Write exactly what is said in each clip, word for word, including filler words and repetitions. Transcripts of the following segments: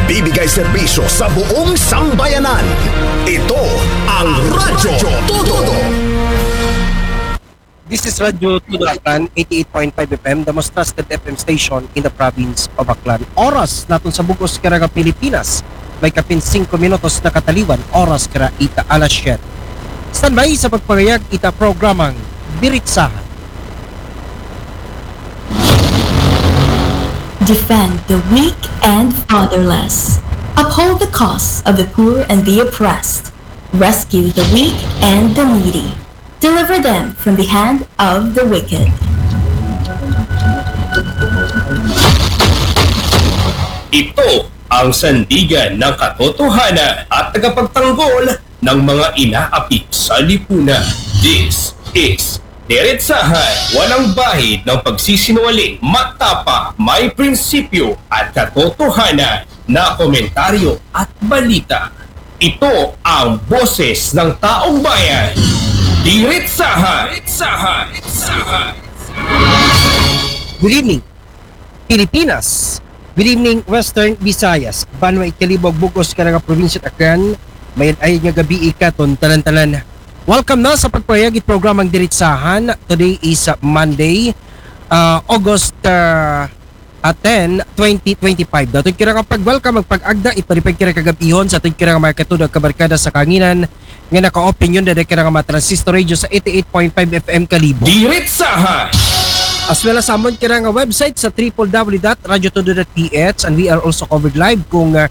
Bibigay serbisyo sa buong sambayanan. Ito ang Radyo Todo. This is Radyo Todo Aklan, eighty-eight point five F M, the most trusted F M station in the province of Aklan. Oras naton sa bug-os karang Pilipinas, may kapin singko minutos na kataliwan, oras kara ita alas siyete. Standby sa pagpangayag ita programang Diritsahan. Defend the weak and fatherless. Uphold the cause of the poor and the oppressed. Rescue the weak and the needy. Deliver them from the hand of the wicked. Ito ang sandigan ng katotohanan at tagapagtanggol ng mga inaapit sa lipunan. This is Diretsahan, walang bahid ng pagsisinungaling, matapang, may prinsipyo at katotohanan na komentaryo at balita. Ito ang boses ng taong bayan. Diretsahan! Diretsahan! Diretsahan! Good evening, Pilipinas. Good evening, Western Visayas. Banwa it Kalibo ug bug-os karang probinsya Aklan. Mayad-ayad nga gabii katon tanan-tanan. Welcome na sa pagpangayag it programang Diritsahan. Today is uh, Monday, uh, August uh, uh, ten, twenty twenty-five. Daw aton karang pag-welcome ug pag-agda it malipay karang kagab-ihon sa aton karang mga katudo ug kabarkada sa kahanginan nga naka-open dida karang mga transistor radio sa eighty-eight point five F M Kalibo. Diretsahan! As well as sa amon karang website sa triple W dot radyo todo dot P H, and we are also covered live kung uh,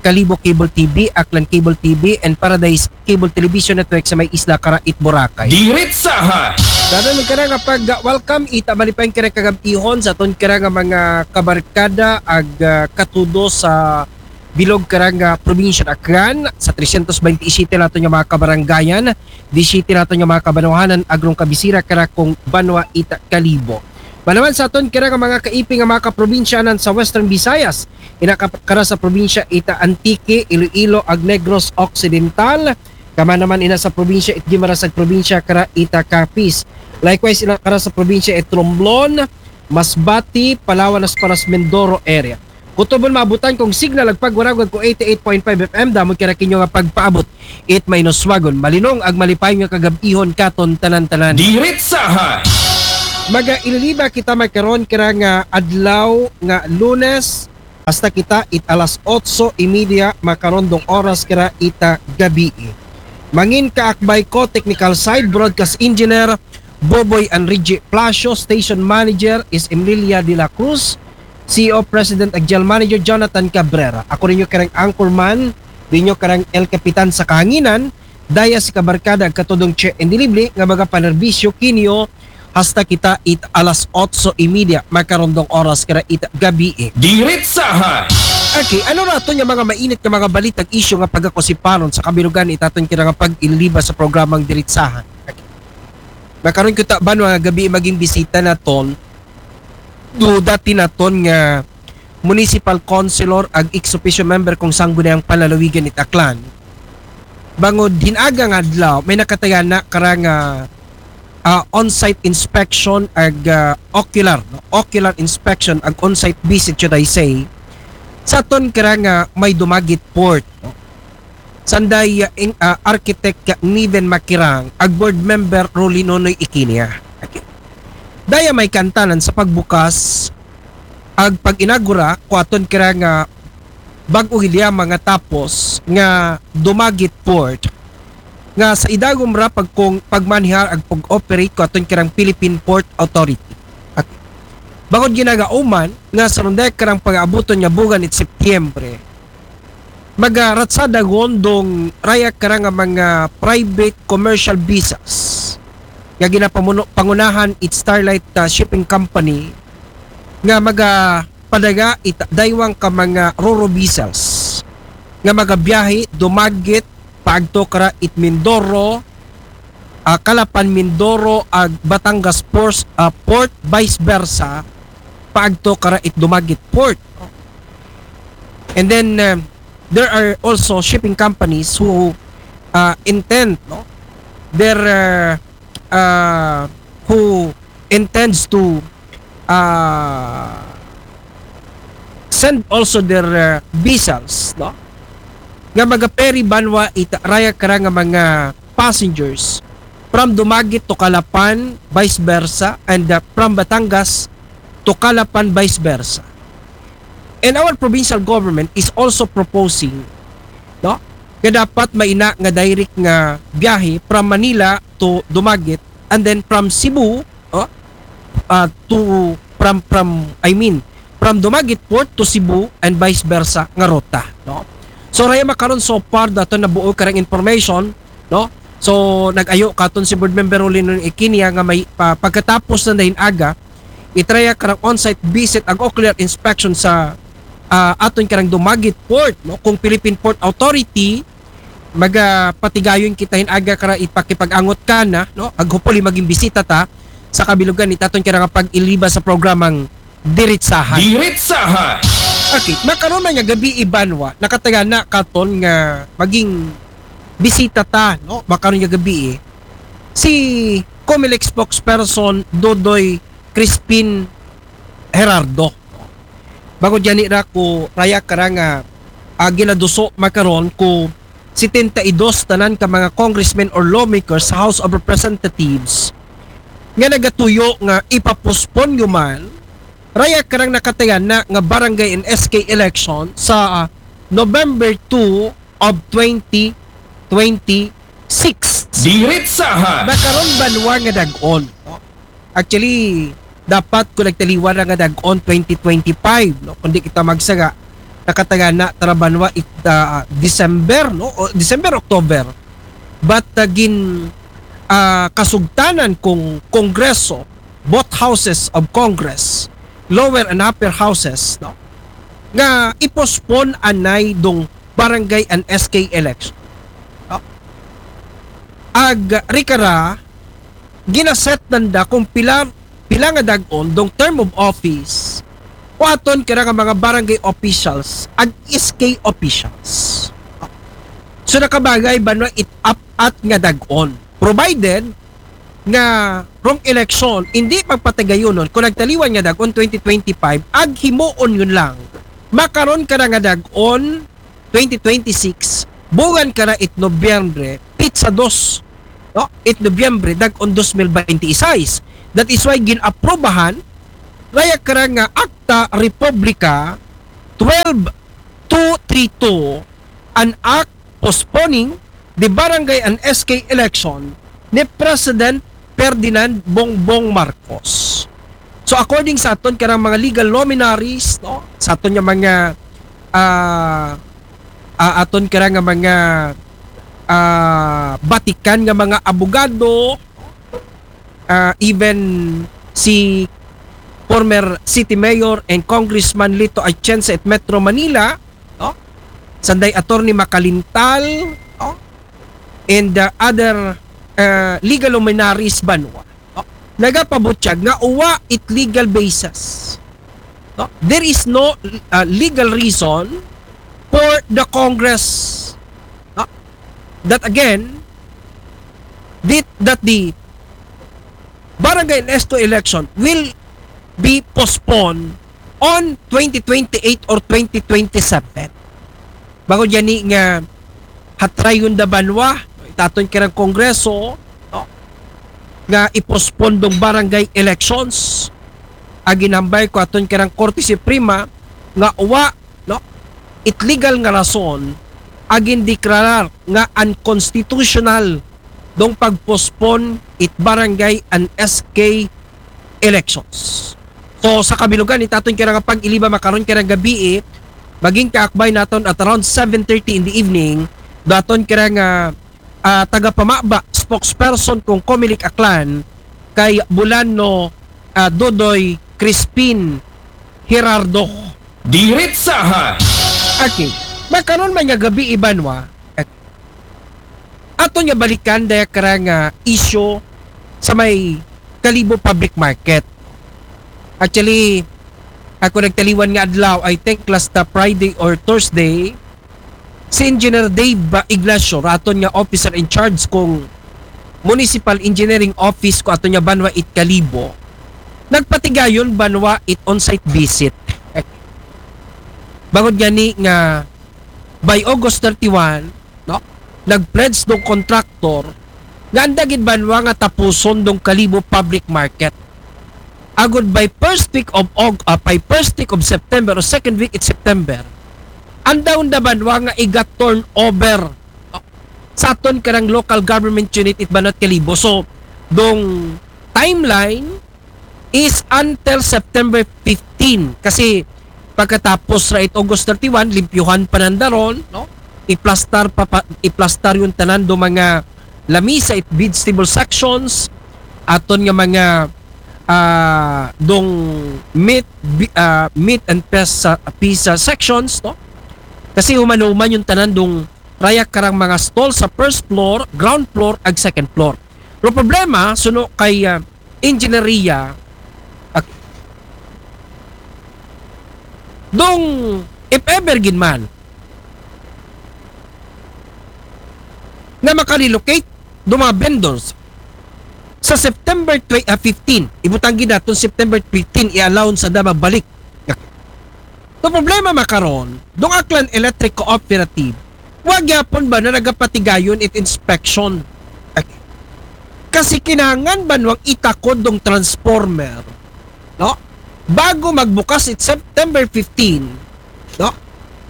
Kalibo Cable T V, Aklan Cable T V, and Paradise Cable Television Network sa may isla kara it Boracay. Diretsahan! Daw aton karang pag-welcome ita malipay karang kagab-ihon sa aton karang mga kabarkada ug uh, katudo sa bilog karang uh, probinsya Aklan, sa trescientos veintisiete naton nga mga kabarangayan, disiete naton nga mga kabanwahanan, agrong kabisira kara kung banwa ita Kalibo. Manaman sa aton karang mga kaiping nga mga kaprobinsyanan sa Western Visayas, ina ka-, kara sa probinsya ita Antique, Iloilo, ug Negros Occidental, kama naman ina sa probinsya it Guimaras ug probinsya kara ita Capiz. Likewise, ina kara sa probinsya it Romblon, Masbate, Palawan, as well as Mindoro area. Kutubon maabutan kung signal ug pagwaragwag ko eighty-eight point five F M, damo kara kinyo nga pagpaabot it mainuswagon, malinong ug malipay nga kagab-ihon katon tanan-tanan. Diretsahan! Mag-ililiba kita makaron karang adlaw nga Lunes, hasta kita it alas otso y media makarondong oras kara ita gabii. Mangin kaakbay ko, technical side, broadcast engineer, Boboy Enrique Plasio, station manager is Emilia de la Cruz, C E O President ug General Manager Jonathan Cabrera. Ako ninyo karang anchorman, ninyo karang El Capitan sa kahanginan, daya si kabarkada ug katudong Che Indilible nga magapanerbisyo kinyo hasta kita it alas otso y media makarondong oras kara it gabii. Diretsahan! Okay, ano ra aton nga mga mainit nga mga balita ug isyu nga pagakosiparon sa kabilugan it aton karang pag-iliba sa programang Diretsahan? Okay. Makaron kita banwa nga gabii maging bisita naton, do dati naton nga municipal councilor ug ex officio member kung Sangguniang Panlalawigan it Aklan. Bangod hin-aga nga adlaw, may nakatagana karang ah, on-site inspection ug ah, ocular, no? Ocular inspection ug on-site visit, should I say, sa aton karang may Dumaguete Port, no? Sanday ah, in, ah, Architect Niven Makirang ug Board Member Rolly Nonoy Ikinia. Okay. Daya may kaantanan sa pagbukas ug pag-inagura ko aton karang bag-o hilya mga tapos nga Dumaguete Port nga sa idagom ra pag kung pagmanihar ug pag-operate ko aton karang Philippine Port Authority. Okay. Bangod ginagauman nga sa runday karang pag-aabuton nga bugan it Setyembre, magaratsada gondong raya karang mga private commercial vessels nga ginapamuno pangunahan it Starlight ah, Shipping Company nga magapadaga it daywang ka mga roro vessels nga magabiyahe Dumaguete paagto kara it Mindoro, ah, Calapan Mindoro ug Batangas Port, ah, Port, vice versa paagto kara it Dumaguete Port. And then um, there are also shipping companies who uh, intend, no, their uh, uh, who intends to uh, send also their uh, vessels, no? Nga maga-ferry banwa it raya kara nga mga passengers from Dumaguete to Calapan, vice versa, and uh, from Batangas to Calapan, vice versa. And our provincial government is also proposing, no, nga dapat maina nga direct nga biyahe from Manila to Dumaguete, and then from Cebu, oh, uh, to from from I mean from Dumaguete Port to Cebu and vice versa nga ruta, no? So raya makaron, so far dato nabuo karang information, no? So nag-ayo katon si Board Member Rolino Equinia nga may pa, pagkatapos na dayon aga, itraya karang on-site visit ag ocular inspection sa uh, aton karang Dumaguete Port, no? Kung Philippine Port Authority magapatigayon kita hin aga kara ipakipag-angot kana, no? Ag hopefully maging bisita ta sa kabilugan it aton kara nga pag-iliba sa programang Diritsahan. Diritsahan. Okay, makaron man nga gabi, Ibanwa, nakatagana katon nga maging bisita ta, no? Makaron nga gabi eh, si Comelec spokesperson Dodoy Crispin Gerardo. Bangod gani ra ko raya kara nga uh, ginaduso makaron ko setenta y dos tanan ka mga congressmen or lawmakers sa House of Representatives nga nagatuyo nga ipapospon human raya karang nakatagana nga barangay and S K election sa uh, November two of twenty twenty-six. Diritsahan. Makaron banwa nga dag-on. Actually, dapat ko nagtaliwan na nga dag-on twenty twenty-five, no? Kundi kita magsaga, nakatagana tara banwa it uh, December, no? O, December, October. But uh, gin uh, kasugtanan kung Kongreso, both houses of Congress, lower and upper houses, no? Nga i-postpone anay dong barangay and S K election. No? Ag rikara, ginaset nanda kung pila pila nga dag-on dong term of office o aton kira nga mga barangay officials ag S K officials. So nakabagay ba no it up at nga dag-on, provided nga rong election hindi magpatagayonon kung nagtaliwan nga dag-on twenty twenty-five ag himuon yun lang makaron ka na nga dag-on twenty twenty-six, buwan ka na it Nobyembre, pitsa dos, no? It Nobyembre, dag-on dos mil baynte-sais. That is why gin-aprobahan, raya ka na nga Akta Republika twelve two three two, an act postponing the barangay and S K election ni President Ferdinand Bongbong Marcos. So according sa aton karang mga legal luminaries, no, sa aton nga mga uh, uh, aton karang nga mga uh, batikan nga mga abogado, uh, even si former City Mayor and Congressman Lito Atienza at Metro Manila, no? Sanday Attorney Macalintal, no? And uh, other uh, legal luminaries banwa, no? Nagapabutyag nga uwa it legal basis. No? There is no uh, legal reason for the Congress, no? That again, that, that the barangay and S K election will be postponed on twenty twenty-eight or twenty twenty-seven. Bangod gani nga hatrayon da banwa, itaton kirang Kongreso, no? Nga i-postpone dong barangay elections. Aginambay ko aton kirang Korte Suprema nga uwa, no? It legal nga rason agin deklarar nga unconstitutional dong pag-postpone it barangay and S K elections. So sa kabilugan, itaton kira nga pag-iliba makaron kira gabi eh, maging kaakbay naton at around seven thirty in the evening, daton kira nga uh, tagapamaba, spokesperson kung Comelec Aklan, kay Bulano uh, Dodoy Crispin Gerardo. Diritsahan. Okay. Makaron man nga gabi, Ibanwa, aton nga balikan daya kara nga issue sa may Kalibo Public Market. Actually, ako nagtaliwan nga adlaw, I think last uh, Friday or Thursday, si Engineer Dave uh, Ignacio, raton nga officer in charge kung Municipal Engineering Office ko ato nga banwa it Kalibo, nagpatigayon banwa it on-site visit. Bangod gani nga by August thirty-one, no? Nag-pledge dong contractor nga anda gid banwa nga tapuson dong Kalibo public market. Agud by first week of Aug-, ah, by first week of September o second week in September, anda unda banwa nga iga-turnover, no? Sa aton karang local government unit it banwa it Kalibo. So, dong timeline is until September fifteen. Kasi pagkatapos ra it August thirty-one, limpyuhan pa nanda ron, no? Iplastar pa, pa iplastar yung tanan do mga lamisa, it vegetable sections, aton nga mga ah, dong meat bi- ah, meat and pes sa pizza sections, no? Kasi human-human yung tanan dong raya karang mga stall sa first floor, ground floor, ag second floor. Pero problema, suno kay ah, engineeria, ak- dong if ever gid man nga makarelocate do mga vendors sa September tw- ah, fifteen. Ibutang gid naton September fifteen, i-allow sa da magbalik. So problema makaron, dong Aklan Electric Cooperative, wa gyapon ba na nagapatigayon it inspection? Okay. Kasi kinahanglan banwang itakod dong transformer, no? Bago magbukas it September fifteen, no?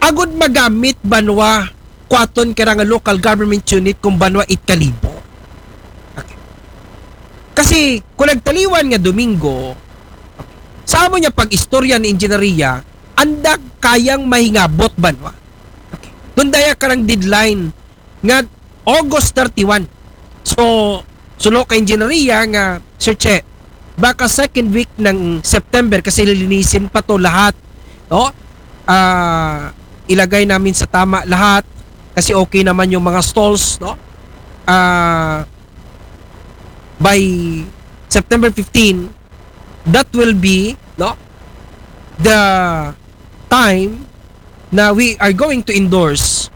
Agud magamit banwa kuaton kara nga local government unit kung banwa it Kalibo. Okay. Kasi kung nagtaliwan nga Domingo, sa amo niya pag-istorya ni engineeria, anda kayang mahingabot banwa. Okay. Dun daya karang deadline nga August thirty-one. So, suno kay engineeria nga, Sir Che, baka second week ng September kasi lilinisin pa to lahat. No? Ah, ilagay namin sa tama lahat kasi okay naman yung mga stalls, no? Ah, by September fifteen, that will be, no, the time na we are going to endorse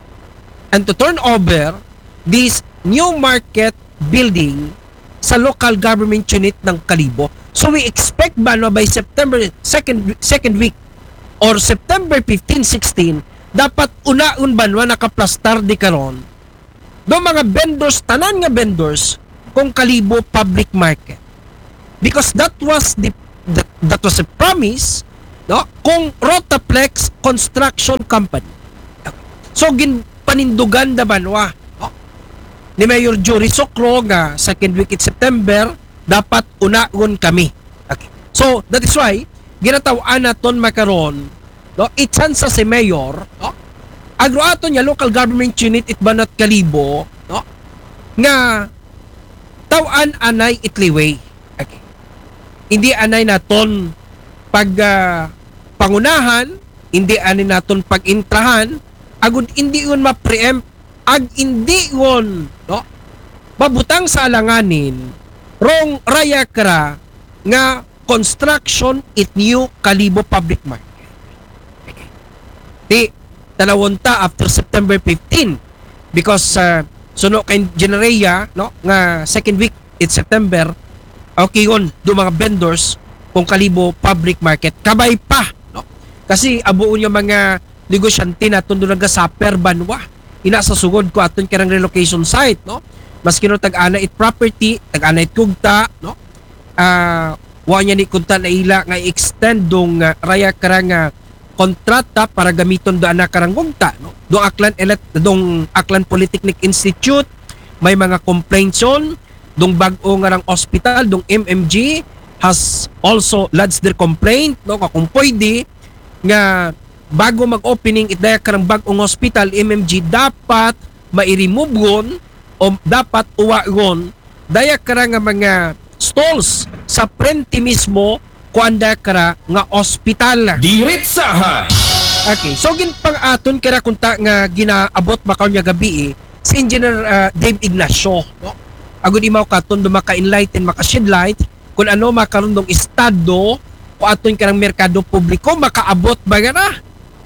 and to turn over this new market building sa local government unit ng Kalibo. So we expect ba na by September second, second week or September fifteen, sixteen, dapat unaon ba na nakaplastar di karon do mga vendors, tanan nga vendors, kung Kalibo public market. Because that was the, that, that was a promise, no, kung Rotaplex Construction Company. So, gin panindugan da banwa, no, ni Mayor Jory Socro nga second week in September, dapat unaon kami. Okay. So, that is why, ginataw-an naton makaron, no, itsansa si Mayor, no, agro aton niya local government unit it banwa it Kalibo, no, nga taw-an anay it liway. Okay. Hindi anay naton pag ah, pangunahan, hindi anay naton pag-intrahan, agud hindi yun ma-preempt, ag hindi yun, no, mabutang sa alanganin rong raya kara nga construction it new Kalibo public market. Di, tanawon ta after September fifteen because uh, suno kay engineeria, no, nga second week in September, okay yun, do mga vendors kung Kalibo public market. Kabay pa, no? Kasi abuon yung mga negosyante naton do nagasuffer banwa. Ina sa sugod ko aton karang relocation site, no? Maski no tag-ana it property, tag-ana it kugta, no? Ah, wa niya ni kunta na ila nga extend dong ah, raya karang ah, kontrata para gamiton do ana karang kugta, no? Dong Aklan Elect, dong Aklan Polytechnic Institute, may mga complaints on dong bag-o nga rang hospital, dong M M G has also lodged their complaint, no? Kung pwede nga bago mag-opening it daya karang bag-ong hospital, M M G, dapat mairemove o dapat uwagon daya kara nga mga stalls sa frente mismo kuan daya kara nga ospital. Diretsahan. Okay, so gin pang aton kara kunta nga ginaabot makaon nga gabi eh, si Engineer ah, Dave Ignacio, no? Agud imaw katon do maka-enlighten, maka-shed light kung ano makaron dong estado ko aton karang merkado publiko makaabot ba nga na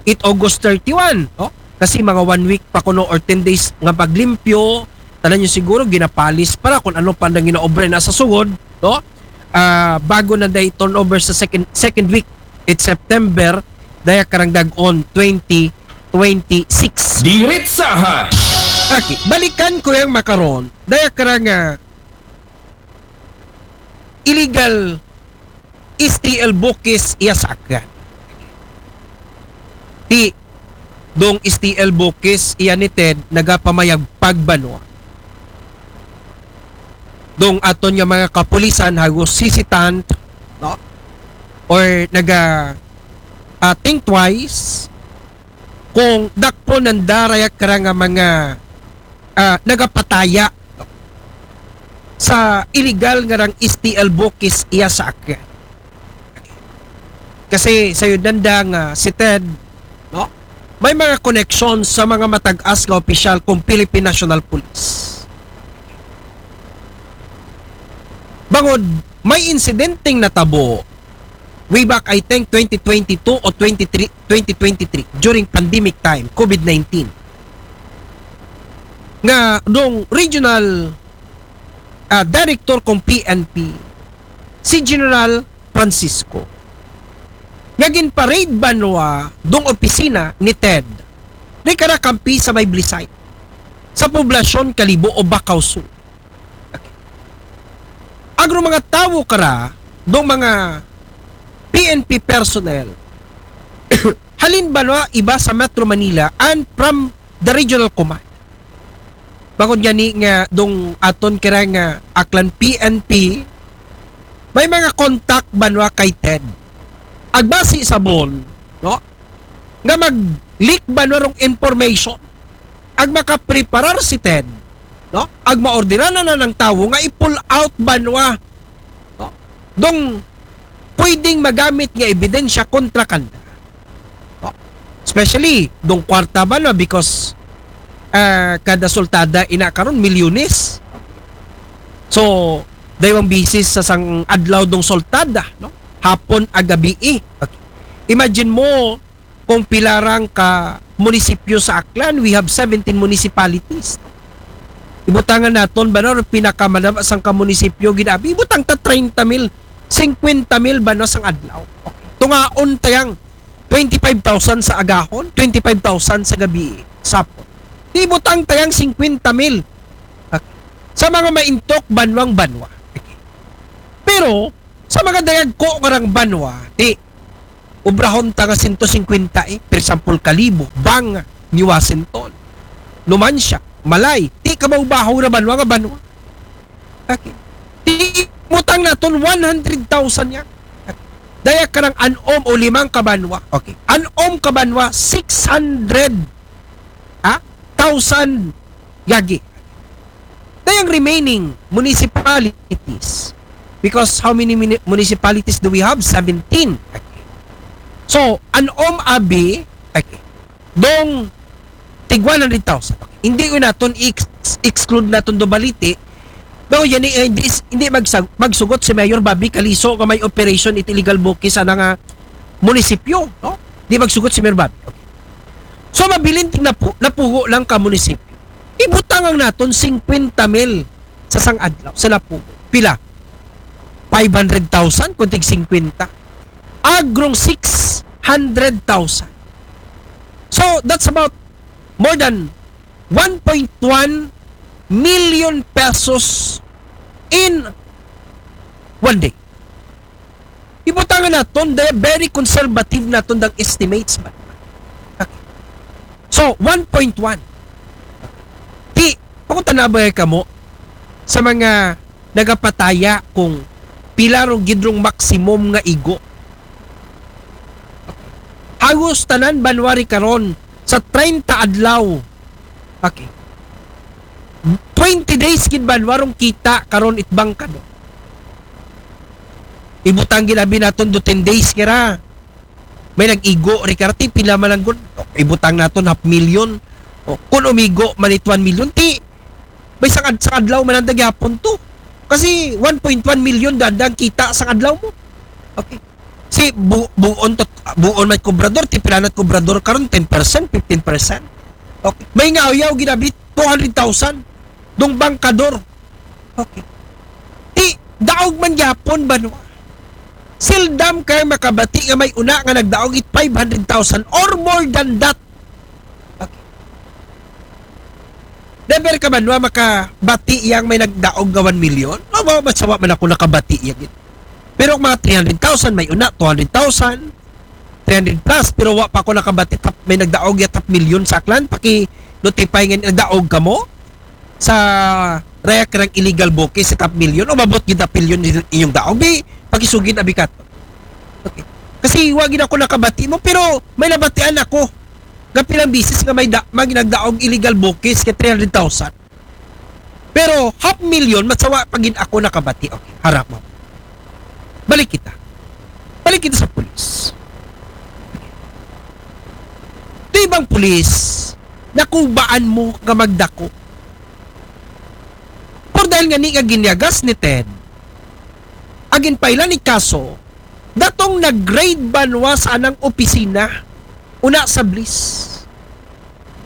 it August thirty-one, no? Kasi mga one week pa kuno or ten days nga paglimpyo, tanan nyo siguro ginapalis para kung ano pa nang ginaobre na sa sugod, no? Ah, bago na day turnover sa second second week it September, daya karang dagon twenty twenty-six. Diretsahan. Okay, balikan ko yang makaron. Daya karang ah, illegal S T L bukis iya sa Aklan. Ti dong S T L bukis iya ni Ted nagapamayag pagbanwa. Dong aton nga mga kapulisan hagos hesitant, no? Or naga ah, think twice kung dakpon nanda raya kara nga mga ah, nagapataya sa illegal nga rang S T L bukis iya sa Aklan. Kasi sayod nanda nga si Ted, no? May mga connections sa mga matag-as nga opisyal kung Philippine National Police. Bangod may insidenteng natabo way back, I think, twenty twenty-two o twenty-three, twenty twenty-three, during pandemic time, COVID nineteen. Nga dong regional ah, director kung P N P, si General Francisco, nga ginpa-raid banwa dong opisina ni Ted, ni kara kampi sa may Blisay, sa poblasyon Kalibo o Bacau Sur. Agro mga tawo kara dong mga P N P personnel halin banwa iba sa Metro Manila and from the regional command. Bangod gani nga dong aton kara nga Aklan P N P, may mga contact banwa kay Ted. Agbasi sa bon, no? Nga mag-leak banwa rong information. Ag makapreparar si Ted, no? Ag maorderan na ng tawo nga i-pull out banwa, no? Dong pwedeng magamit nga ebidensya kontra kanda. No? Especially dong kwarta banwa because ah, kada sultada ina karon milyones. So, daywang bisis sa sang adlaw dong sultada, no? Hapon ag gabii. Okay. Imagine mo kung pilarang ka munisipyo sa Aklan, we have seventeen municipalities. Ibutangan naton ba na pinakamanaba sang ka munisipyo ginabi? Ibutang ta treinta mil, cincuenta mil ba na sang adlaw? Okay. Tungaon tayang twenty-five thousand sa agahon, twenty-five thousand sa gabi, sapon. Ibutang tayang cincuenta mil. Okay. Sa mga maintok banwang banwa. Okay. Pero, sa mga dayag ko karang banwa, di, obrahon ta nga sento singkwenta eh. For example, Kalibo, Banga, New Washington, Numancia, Malay, di ka maubahaw na banwa nga banwa. Okay. Di, ibutang naton one hundred thousand yan. Daya karang anom o limang kabanwa. Okay. Anom kabanwa, six hundred, ha? Thousand gagi. Dayang remaining municipalities, because how many muni- municipalities do we have? Seventeen. Okay. So, anom abi, okay, dong tig one hundred thousand. Okay. Hindi ko naton i-ex- exclude naton do Balite. No, yan eh, hindi, hindi magsag, magsugot si Mayor Bobby Caliso nga may operation iti illegal bukis ana nga munisipyo, no? Di magsugot si Mayor Bobby. Okay. So, mabilin ting napu, napugo lang ka munisipyo. Ibutang ang naton cincuenta mil sa sang adlaw, sa napugo. Pila? Five hundred thousand kung tig cincuenta. Agrong six hundred thousand. So, that's about more than one point one million pesos in one day. Ibutangan naton, they are very conservative naton dang estimates ba. Okay. So, one point one. Ti, pangutana ba kamo sa mga nagapataya kung pila rong gidrong maximum nga igo? Hagos tanan banwa ri karon sa treinta adlaw. Okay. Twenty days gid banwa rong kita karon it bangkador. Ibutang gid abi naton do ten days kira. May nag-igo ri karti, pila man lang gud. Ibutang naton half million. O, kung umigo man it one million, ti may sang, ad- sang adlaw man ang dagyapon to. Kasi one point one million dada ang kita sang adlaw mo. Okay. Si bu buon tot buon may kobrador, ti pila na kobrador karon, ten percent, fifteen percent. Okay. May nga uyaw ginabi two hundred thousand dong bangkador. Okay. Ti daog man gyapon banwa. Seldom kay makabati nga may una nga nagdaog it five hundred thousand or more than that. Okay. Never ka man wa makabati yang may nagdaog nga one million? Wa, wa, wa, wa man ako nakabati yang yun. Pero mga three hundred thousand, may una, two hundred thousand, three hundred plus, pero wa pa ako nakabati tap, may nagdaog ya tap million sa Aklan, paki-notify nga nagdaog ka mo sa raya karang illegal bukis sa tap million, o mabot gid tap million inyong daog, bi, pakisugid abi ka to. Okay. Kasi wa gid ako nakabati mo, pero may nabatian ako nga pilang bisis nga may da, may nagdaog illegal bukis kay three hundred thousand. Pero half million, matsawa pa gid ako nakabati. Okay, harap mo. Balik kita. Balik kita sa pulis. Di bang pulis, nakubaan mo nga magdako? Por dahil nga ni nga ginyagas ni Ted, agin pailan ni kaso, datong nag-raid banwa sa anang opisina, una sa Bliss.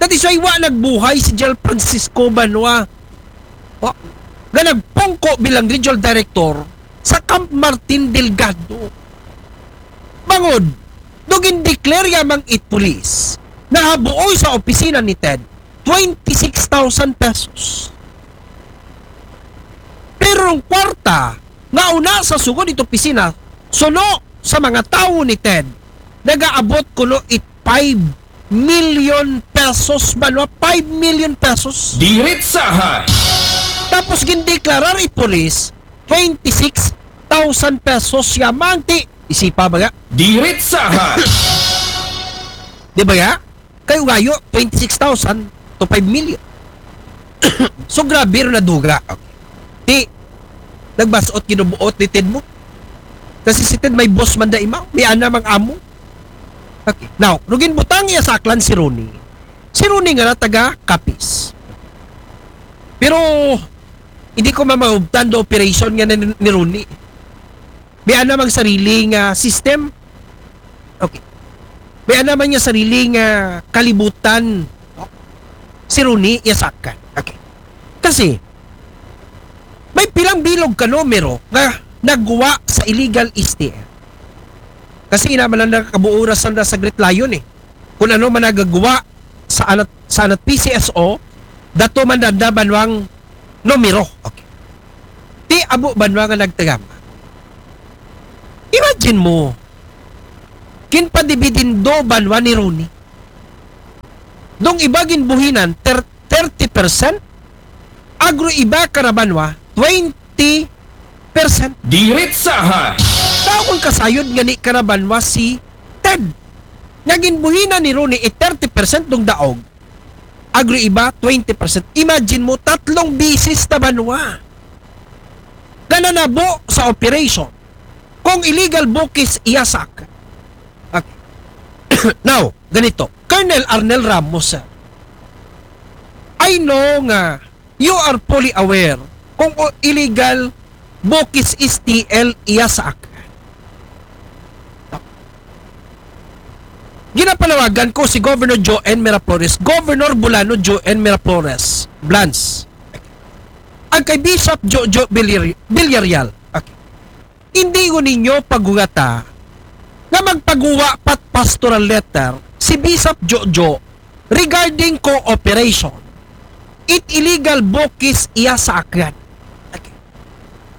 That is why wa nagbuhay si General Francisco Banwa. Wa. Nga nagpungko bilang regional director sa Camp Martin Delgado. Bangod, do gindeclare yamang it police, nahabuoy sa opisina ni Ted, twenty-six thousand pesos. Pero ang kwarta, nga una sa sugod it opisina, suno sa mga tawo ni Ted, nagaabot kuno it five million pesos, banwa, five million pesos. Diritsahan. Tapos gindeklarar it police, twenty-six thousand pesos yamang ti, isipa ba nga? Diritsahan. Di ba nga? Kayo gayo, twenty-six thousand to five million. So, grabe rin na duga. Okay. Ti, nagbasot ginubuot ni Ted mo. Kasi si Ted may boss man da imaw, may ana mang amo. Okay. Now, rugin butang iya sa Aklan si Ronnie. Si Ronnie nga na taga Capiz. Pero, hindi ko mamahubtan do operation nga na ni, ni Ronnie. May ana mang sarili nga system. Okay. May ana man nga sarili nga kalibutan. Si Ronnie, iya sa Aklan. Okay. Kasi, may pilang bilog ka numero nga nagwa sa illegal S T L. Kasi ina man lang nakabuo ra sanda sa Great Lion eh. Kung ano man nagagawa sa anat, sa anat P C S O, dato man danda banwang numero. Okay. Ti abo banwa nga nagtagama. Imagine mo, ginpadibidindo banwa ni Ronnie. Dong iba ginbuhinan, ter-, thirty percent. Agro iba kara banwa, twenty percent. Diritsahan. Tao kung kasayod nga ni kara banwa si Ted. Nga ginbuhinan ni Ronnie, eh, thirty percent dong daog. Agro iba, twenty percent. Imagine mo, tatlong bisis na banwa. Nga nanabo sa operation. Kung illegal bukis iyasak. Okay. Now, ganito. Colonel Arnel Ramos, sir. I know nga you are fully aware kung o-, illegal bukis S T L iyasak. Ginapanawagan ko si Governor Joe N. Miraflores, Governor Bulano Joe N. Miraflores, Blans. Ang kay Bishop Jojo Villar-, Villarreal. Okay. Hindi ko ninyo pagugata nga magpaguwa pat pastoral letter si Bishop Jojo regarding cooperation. It illegal bukis iya sa akyan. Okay.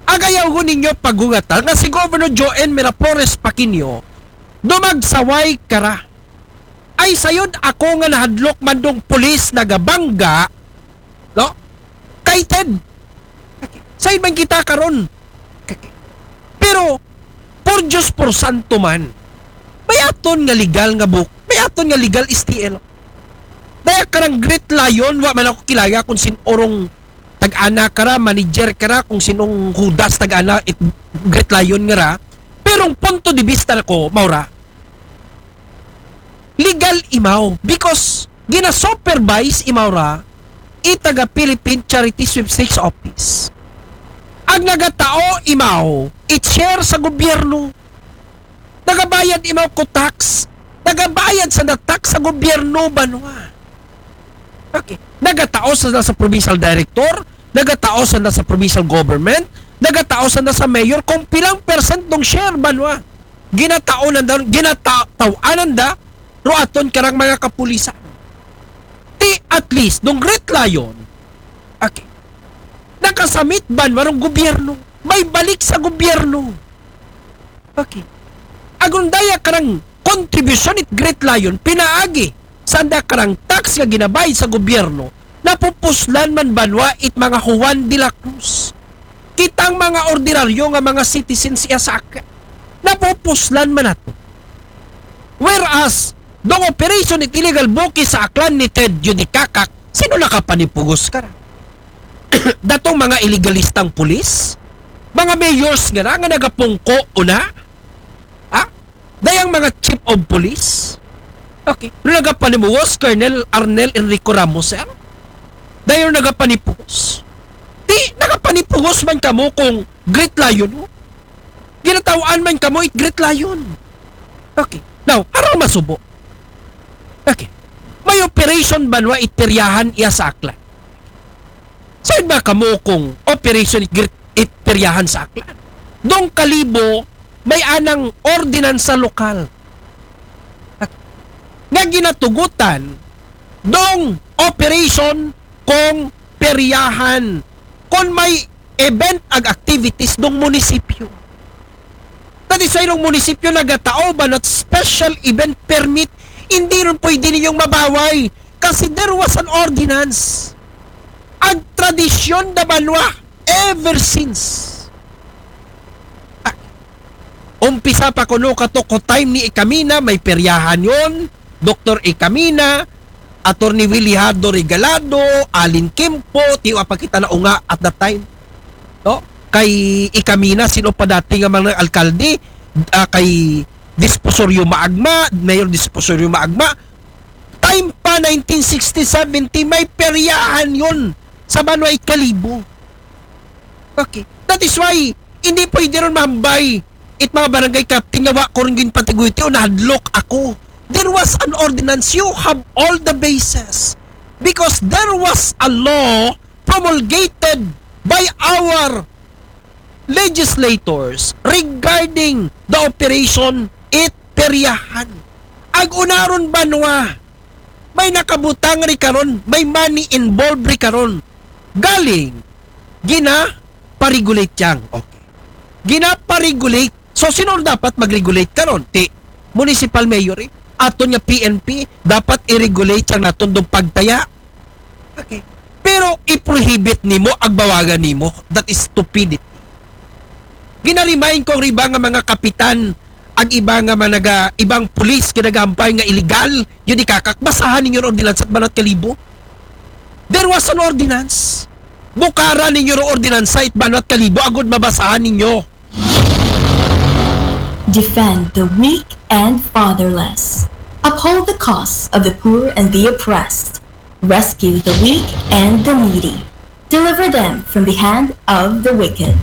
Agayaw ko ninyo pagugata nga si Governor Joe N. Miraflores Paquino, dumagsaway kara. Ay sayod ako nga nahadlok man dong pulis nagabangga, no? Kay Ted. Sayod man kita karon. Pero, por Diyos, por santo man. May aton nga legal nga book. May aton nga legal S T L. Daya karang Great Lion, wa man ako kilaya kung sin orong tag-ana kara, manager kara, kung sinong hudas tag-ana it Great Lion nga ra. Pero ang punto de vista nako, maura, legal imaw because gina-supervise imaw ra i taga Philippine Charity Sweepstakes Office. Ang nagatao imaw, it share sa gobyerno. Nagabayad imaw ko tax. Nagabayad sa na tax sa gobyerno, banwa. Okay. Nagatao sa, sa provincial director, nagatao sa, sa provincial government, nagatao sa, sa mayor, kung pilang percent ng share, banwa. ginataonan da, ginataw-anan da, ro aton karang mga kapulisan. Ti at least, dong Great Lion, okay, nakasamit ban warong gobyerno, may balik sa gobyerno. Okay. Agon daya karang kontribusyon it Great Lion, pinaagi sanda karang tax nga ginabayad sa gobyerno, napupuslan man banwa it mga Juan de la Cruz. Kitang mga ordinaryo nga mga citizens iya sa ak-, napupuslan man nato. Whereas, dong operation it illegal buki sa Aklan ni Ted Judicacak, sino nakapanipugos ka na? Datong mga iligalistang pulis? Mga mayors nga na, nga nagapungko una? Ha? Dayang mga chief of police? Okay. No nagapanimuhos, Colonel Arnel Enrico Ramos, sir? Dayon nagapanipuhos. Di, nagapanipuhos man kamo kung Great Lion mo. Ginatawaan man kamo it Great Lion. Okay. Now, harang masubo. Okay. May operation banwa it peryahan iya sa Aklan. Sayon ba kamo kung operation it, it peryahan sa Aklan? Dong Kalibo, may anang ordinansa lokal nga ginatugutan dong operation kung peryahan, kung may event ag activities dong munisipyo. That is why dong munisipyo nagatao ba not special event permit, hindi ron pwede ninyong mabaway kasi there was an ordinance. Ang tradisyon na banwa ever since. Ah, umpisa pa kuno kato ko time ni Ikamina, may peryahan yon. Doktor Ikamina, Attorney Willy Hardo Regalado, Alin Kimpo, tiwa pa kita na unga at that time. No? Kay Ikamina, sino pa dati nga mga alkalde? Ah, kay Disposorio Maagma, Mayor Disposorio Maagma. Time pa nineteen sixty seventy, may peryahan yon sa Banwa Kalibo. Okay. That is why, hindi pwede ron mahambay it mga barangay captain nga wa ko rin ginpatiguiti o nahadlok ako. There was an ordinance. You have all the bases. Because there was a law promulgated by our legislators regarding the operation it peryahan. Ag unaron banwa, may nakabutang ri karon, may money involved ri karon. Galing, gina-paregulate yang. Okay. Gina-paregulate. So, sino dapat mag-regulate karon? Ti municipal mayor eh. Aton nga P N P, dapat i-regulate yang naton dong pagtaya. Okay. Pero i-prohibit nimo, agbawagan nimo. That is stupidity. Ginarimain ko riba nga mga kapitan, ag iba nga managa, ibang pulis nga nagahampay nga illegal, yun ikakak, basahan ninyo ron ordinansa at Banat Kalibo. There was an ordinance. Bukara ninyo ron ordinansa it Banat Kalibo, agud mabasahan ninyo. Defend the weak and fatherless. Uphold the cause of the poor and the oppressed. Rescue the weak and the needy. Deliver them from the hand of the wicked.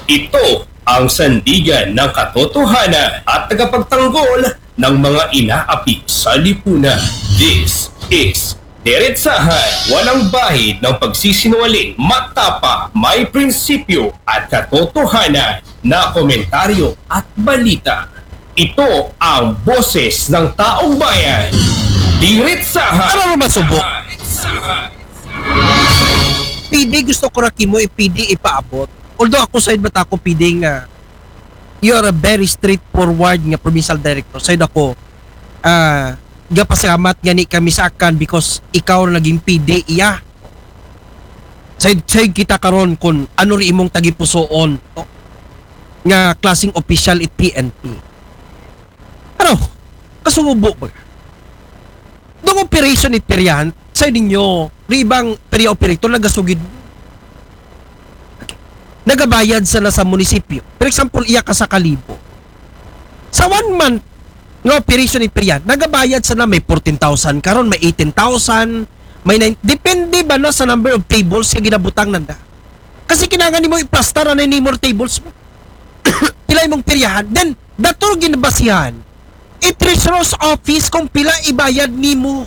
Ito ang sandigan ng katotohanan at tagapagtanggol ng mga inaapi sa lipunan. This is Diretsahan, walang bahid ng pagsisinungaling, matapa, may prinsipyo at katotohanan na komentaryo at balita. Ito ang boses ng taong bayan. Diretsahan. Ano naman subo? P D, gusto ko ra kimo i-P D ipaabot. Although ako side bata ako P D nga you are a very straightforward nga provincial director. Side ako, ah, gapasalamat nga ni kami sa akan because ikaw ra naging P D iya. Side, side kita karon kun ano ri imong tagipusoon, no? Nga klaseng opisyal it P N P. Ano? Kasubo ba? Dong operation it peryahan, sa ninyo, ri ibang perya operator nagasugid. Okay. Nagabayad sana sa munisipyo. For example, iya ka sa Kalibo. Sa one month nga operation it peryahan, nagabayad sana may fourteen thousand karon, may eighteen thousand, may nine, depende ba na sa number of tables nga ginabutang nanda. Kasi kinahanglan nimo iplastar na nimo tables mo. Pila imong peryahan. Then, dator ginabasihan it treasurer's office kung pila ibayad nimo.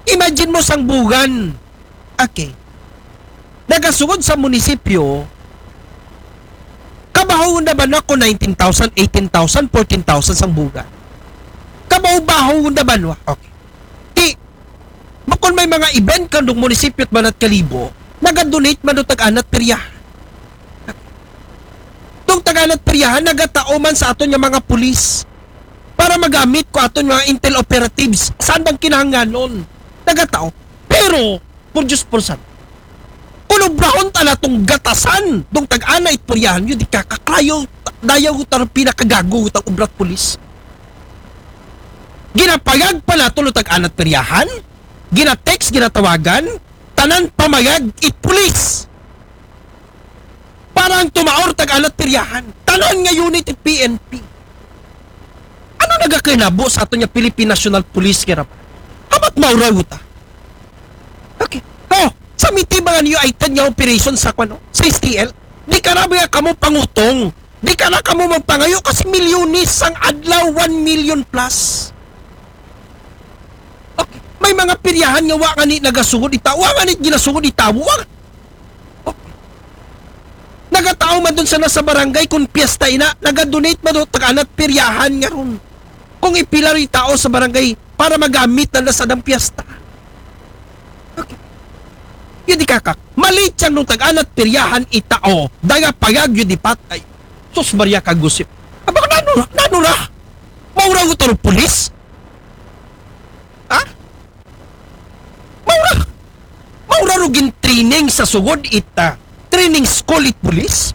Imagine mo sang bugan. Okay. nagasugod sa munisipyo, kabaho na ba na ko nineteen thousand, eighteen thousand, fourteen thousand sang buga? Kabaho-baho na ba nwa? Okay. Ti, makon may mga event kandong munisipyo at banat kalibo, nagadonate man do tag-anat peryahan. Dong tag-anat peryahan, nagatao man sa aton nga mga pulis para magamit ko aton mga intel operatives. Saan bang kinahanglanon? Nagatao. Pero, por Diyos, por San. Kung obrahon ta na tong gatasan, dong tag-ana it peryahan, yun di kakaklayo, dayaw ko tarong pinakagago ko tang obrat pulis. Ginapayag pa nato no tag-anat peryahan, ginatext, ginatawagan, tanan pamayag it pulis. Para ang tumaor tag-anat peryahan, tanan nga unit it P N P. Ano nagakinabo sa aton nga Philippine National Police kaya? Hamat mauraw ta. Okay. Oh, sa miti mga niyo ay nga operation sa kwano, sa S T L. Di ka na ba kamo pangutong? Di ka na kamo magpangayo kasi milyones sang adlaw, one million plus. Okay. May mga peryahan nga wa nga ni nagasugod ita, wa nga ni ginasugod ita, wa. Okay. Nagatao man dun sa nasa barangay kung piyesta ina, nagadonate man do tag-anat peryahan nga ron. Kung ipila rin tao sa barangay para magamit na nasa dang piyesta. Okay. Yun di kakak. Malit siyang nung tag-anat peryahan itao. Daya payag yun di patay. Sus Maria Kagusip. Aba, nano, nano ra? Maura ko taro pulis? Ha? Maura? Maura ro gin training sa sugod ita. Training school it pulis?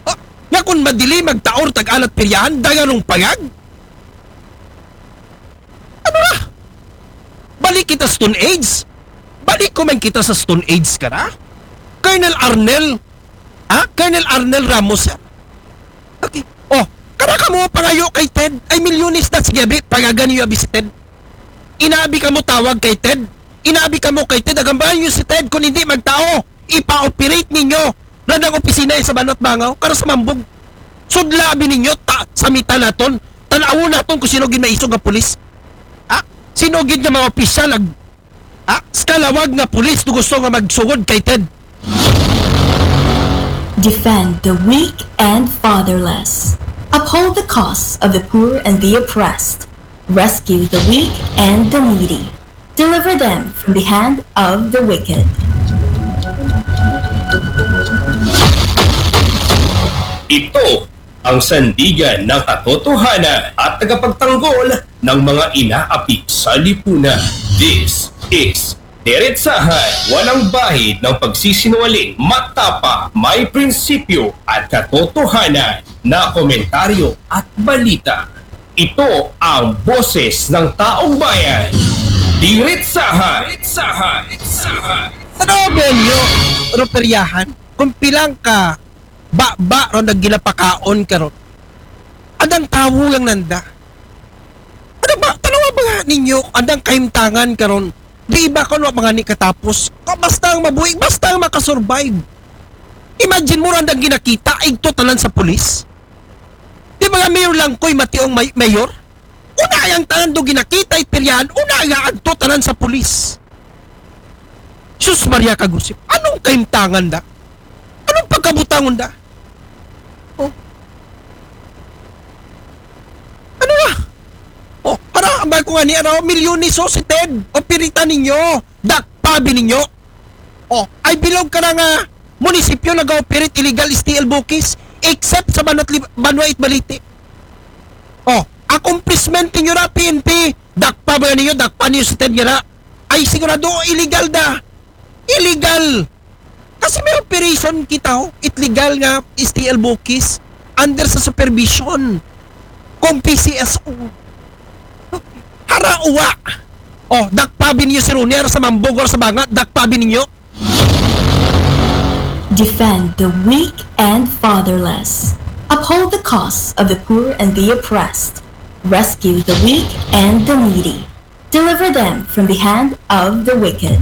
Ah, nga kung madili magtaor tag-anat peryahan, daya rong payag? Ano na? Balik kita Stone Age? Balik ko man kita sa Stone Age ka na? Colonel Arnel? Ha? Colonel Arnel Ramos, sir? Okay. Oh, kada ka mo pangayo kay Ted, ay milyones na sige, abi, pangagan niyo abi si Ted. Inabi ka mo tawag kay Ted. Inabi ka mo kay Ted, agambahan niyo si Ted kung hindi magtao, ipa-operate ninyo. Radang opisina sa Banat Bangaw, karo sa Mambog. Sudla abi ninyo, ta, sa mita naton, tanawon naton kung sino gid maisog nga pulis. Ha? Sino gid nga mga opisyal ag, ha? Skalawag nga pulis to gusto nga magsugod kay Ted. Defend the weak and fatherless. Uphold the cause of the poor and the oppressed. Rescue the weak and the needy. Deliver them from the hand of the wicked. Ito ang sandigan ng katotohanan at tagapagtanggol ng mga inaapi sa lipunan. This is Diretsahan, walang bahid ng pagsisinungaling, matapa, may prinsipyo at katotohanan na komentaryo at balita. Ito ang boses ng taong bayan. Diretsahan. Diretsahan. Diretsahan. Ano ba nyo, Roperyahan? Kung pilang ka, ba, ba, ron nagginapakaon karon. Adang tawo lang nanda. Ano ba, tanawa ba nga ninyo, adang kahimtangan karon? Di ba kung wa mga ni katapos? Ka- Basta ang mabuhi, basta ang makasurvive. Imagine mo, andang ginakita, igto tanan sa pulis. Di ba nga mayor lang ko'y mationg may, mayor? Una ay ang tanan do ginakita, ipiryahan, una ay agto tanan sa pulis. Sus Maria Kagusip, anong kahimtangan da? Anong pagkabutangon da? Oh. Ano na? Oh, para ang ko nga ni ano, milyones so si Ted. O pirita ninyo. Dakpabi ninyo. Oh, ay bilog ka na nga munisipyo nag-operate illegal S T L Bukis except sa Banat Lib- Banwa it Balite. Oh, accomplishment ninyo na P N P. Dakpa ba ninyo? Dakpa ninyo si Ted nga na? Ay sigurado illegal da. Illegal. Kasi may operation kita, oh, it legal nga S T L Bukis under sa supervision kung P C S O. Hara uwa. Oh, dakpabi ninyo si Ronier sa Mambog or sa Banga, dakpabi ninyo. Defend the weak and fatherless. Uphold the cause of the poor and the oppressed. Rescue the weak and the needy. Deliver them from the hand of the wicked.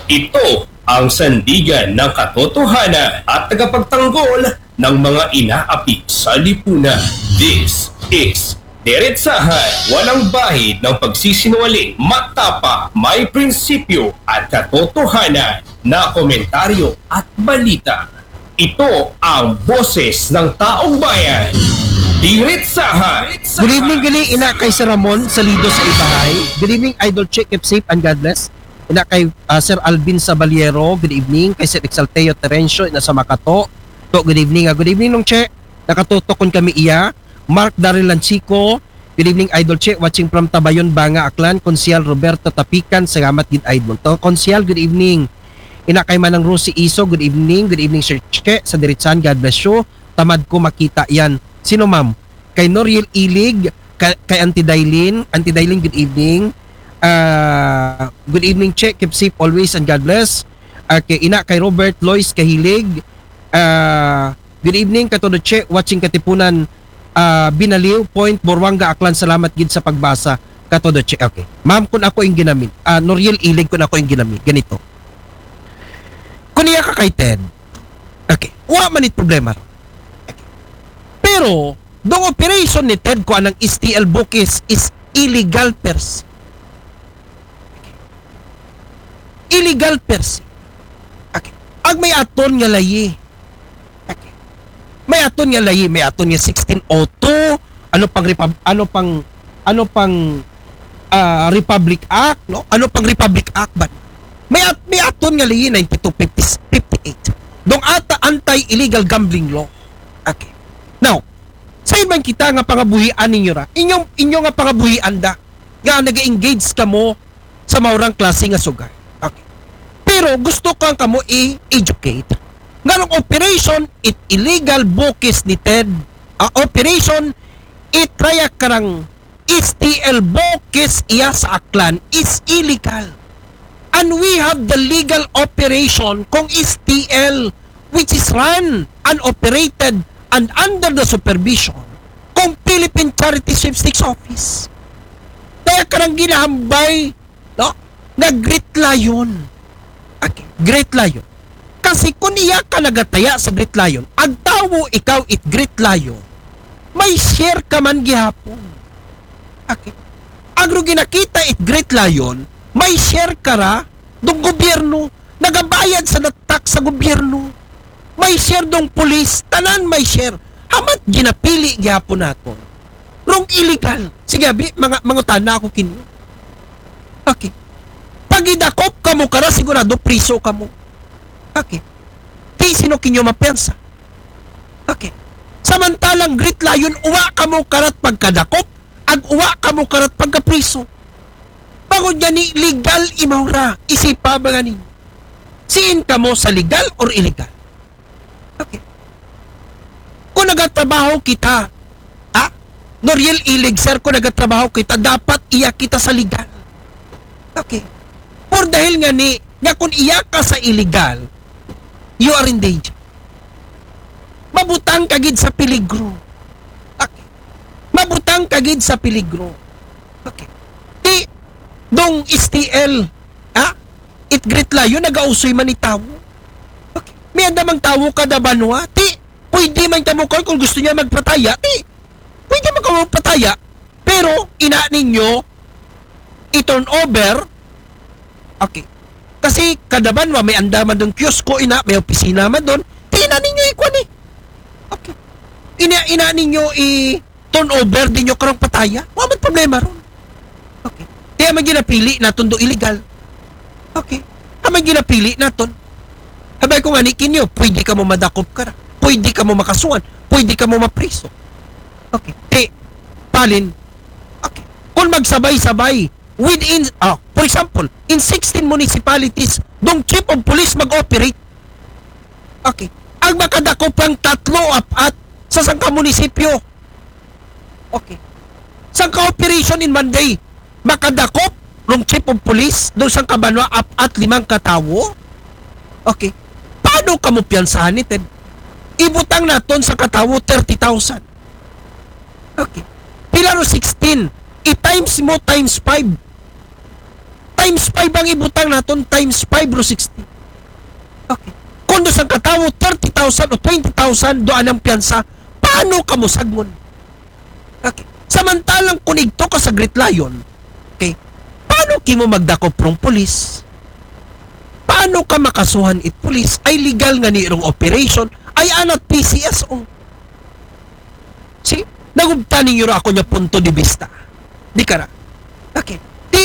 Ito ang sandigan ng katotohanan at tagapagtanggol ng mga inaapi sa lipunan. This is Diretsahan, walang bahid ng pagsisinungaling, matapang, may prinsipyo at katotohanan na komentaryo at balita. Ito ang boses ng taong bayan. Diretsahan. Good evening, gali ina kay Sir Ramon Salido sa Ibahay. Good evening, Idol Chick. Keep safe and God bless. Ina kay ah, Sir Alvin Sabaliero. Good evening. Kay Sir Exalteo Terencio, ina sa Makato. To, good evening. Ah, good evening, Nong Che. Nakatutok kun kami iya. Mark Daryl Lanchico. Good evening, Idol Che. Watching from Tabayon, Banga, Aklan. Konsyal Roberto Tapican. Salamat gid, Idol. To, Konsyal, good evening. Ina kay Manang Rosie Iso, good evening. Good evening, Sir Che. Sa Diritsan, God bless you. Tamad ko makita yan. Sino, ma'am? Kay Noriel Ilig, kay, kay Auntie Dailin. Auntie Dailin, good evening. Ah, good evening, Che. Keep safe always and God bless. Ah, kay ina, kay Robert Lois Kahilig. Ah, good evening, Katodo Che. Watching Katipunan, ah, Binaliw, Point, Boruanga, Aklan. Salamat gid sa pagbasa, Katodo Che. Okay. Ma'am, kun ako yung ginamit. Ah, Noriel Ilig, kun ako yung ginamit. Ganito. Kun iya ka kay Ted. Okay. Wa man it problema. Okay. Pero, dong operation ni Ted ko anang S T L Bukis is illegal per se. Illegal per se. Okay. Ag may aton nga layi. Okay. May aton nga layi, may aton nga sixteen oh two, ano pang Repub-, ano pang ano pang ah, Republic Act, no? Ano pang Republic Act ba? May at, may aton nga layi ninety-two fifty-eight. Dong ata anti-illegal gambling law. Okay. Now, sa man kita nga pangabuhian ninyo ra? Inyong inyo nga pangabuhian da nga nag-engage kamo sa maurang klase nga sugal. Okay. Pero gusto ko ang kamo i-educate. Nganong operation it illegal bukis ni Ted? Ah, operation it raya karang S T L bukis iya sa Aklan is illegal. And we have the legal operation kung S T L which is run and operated and under the supervision kung Philippine Charity Sweepstakes Office. Kaya karang ginahambay, no? Nga Great Lion. Okay, Great Lion. Kasi kung iya ka nagataya sa Great Lion, agtawo ikaw it Great Lion, may share ka man gihapon. Okay. Agro ginakita it Great Lion, may share ka ra dong gobyerno, nagabayad sa tax sa gobyerno. May share dong pulis, tanan may share. Hamat ginapili gihapon naton rong illegal. Sige, abi, mga, mangutana ako kinyo. Okay. Pagidakop kamo kara, sigurado priso kamo. Okay. Ti sino kinyo mapensa? Okay. Samantalang Great Lion, uwa kamo karat pagkadakop, ag uwa kamo karat pagkapriso. Bangod nga ni legal imaw ra, isipa ba nga ninyo? Siin kamo sa legal or illegal? Okay. Kung nagatrabaho kita, ha? Noriel Ilig, sir, kung nagatrabaho kita, dapat iya kita sa legal. Okay. Or dahil nga ni, nga kung iya ka sa illegal, you are in danger. Mabutang ka gid sa peligro. Okay. Mabutang ka gid sa peligro. Okay. Ti, dong S T L, ha? It Great Lion, nagausoy man ni tawo. Okay. May andamang tawo kada banwa. Ti, pwede man kamo kon kung gusto niya magpataya. Ti, pwede man kamo magpataya. Pero, ina ninyo, i-turn over. Okay. Kasi kada banwa, may andaman dong kiosko, ina, may opisina man dong. Ti, ina ninyo ikuan eh. Okay. Ina, ina ninyo i-turn over, di nyo karong pataya. Wa man problema ron. Okay. Kaya man ginapili naton do illegal. Okay. Haman ginapili naton. Habay ko nga ni kinyo, pwede kamo madakop kara. Pwede kamo makasuhan. Pwede kamo mapriso. Okay. Ti, palin. Okay. Kung magsabay-sabay, within, ah, for example, in sixteen municipalities, dong chief of police mag-operate. Okay. Ang makadakop ang tatlo, apat sa sangka munisipyo. Okay. Sangka operation in Monday, makadakop rong chief of police, dong sangka banwa, apat, limang katawo. Okay. Paano kamo piyansahan ni Ted? Ibutang naton sa katawo, thirty thousand. Okay. Pila ro sixteen? I-times mo times five. Times five ang ibutang naton, times five ro sixteen. Okay. Kung do sangka tawo, thirty thousand o twenty thousand do anang piyansa, paano kamo sagngon? Okay. Samantalang kung igto ka sa Great Lion, okay, paano kimo magdakop rong pulis? Paano ka makasuhan it pulis? Ay legal nga ni rong operation, ay anat P C S O. See? Nagubta ninyo ra ako niya punto de vista. Di ka ra. Okay. Di,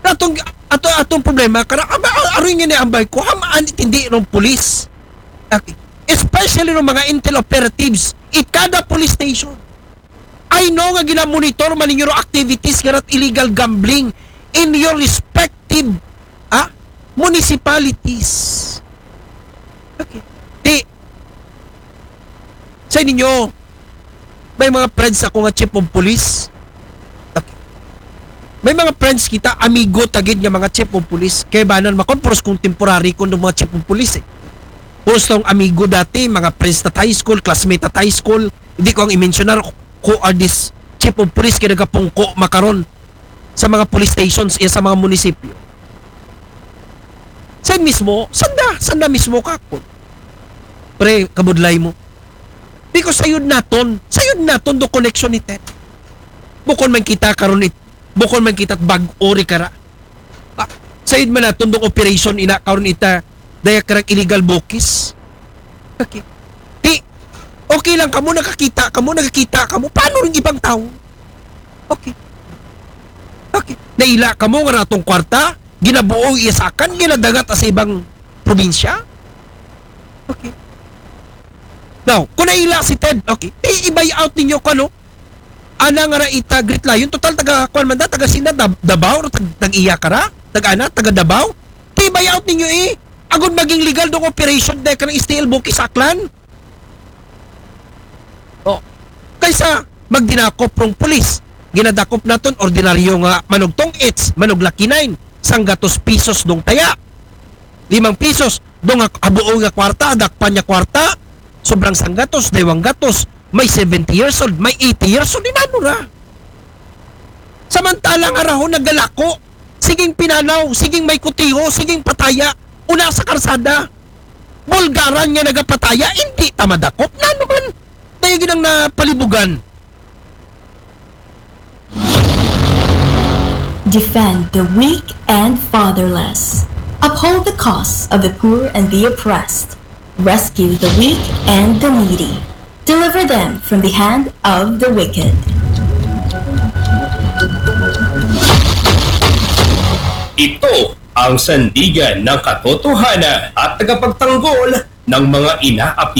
atong, ato, atong problema, kara, ama, aroy nga ni ambay ko, hamaan it hindi rong pulis. Okay. Especially ng mga intel operatives, it kada police station. I know nga ginamonitor man ninyo ro activities nga rat illegal gambling in your respective, ah, municipalities. Okay. Di, sa ninyo, may mga friends ako nga chief of police. Okay. May mga friends kita, amigo tagid nga mga chief of police. Kaya ba nan makon, puros kong temporary kong mga chief of police eh. Puros tong amigo dati, mga friends at high school, classmate at high school. Hindi ko ang i-mention na who are these chief of police kaya nagapungko makaron sa mga police stations, iya sa mga munisipyo. Sa mismo, sanda, sanda mismo ka po. Pre, kabudlay mo. Because sayod naton, sayod naton do connection ni Ted. Bukon man kita karon it, bukon man kita bag-o ri kara. Ah, sayod man naton dong operation ina karon ita, daya karag illegal bukis. Okay. Di, okay lang kamo, nakakita kamo, nakakita kamo. Paano rin ibang tao? Okay. Okay. Naila kamo nga ratong kwarta, ginabuo isakan, ginadangat sa ibang probinsya? Okay. Now, kung naila si Ted, okay, i-buy out ninyo ko ano? Ana nga ra ita Great Lion, total taga, kuwan man da, taga sina, Dab- Davao, tag, tag iya ka ra? Tag ana, taga Davao? Ti buy out ninyo eh. Agud maging legal dong operation dahil ka ng S T L Bukis Aklan. Oh. Kaysa magdinakop rong pulis. Ginadakop naton ordinaryo nga manugtong its, manugla kinain, sanggatos pisos dong taya. Limang pisos, dong nga abuo nga kwarta, adakpan niya kwarta, sobrang sanggatos, daywang gatos, may seventy years old, may eighty years old, inano ra. Samantala nga rahon nagalako, siging pinanaw, siging may kutiho, siging pataya, una sa karsada. Bulgaran nga nagapataya, hindi ta madakop. Nano man? Dahil ginang napalibugan. Defend the weak and fatherless. Uphold the cause of the poor and the oppressed. Rescue the weak and the needy. Deliver them from the hand of the wicked. Ito ang sandigan ng katotohanan at tagapagtanggol ng mga inaapi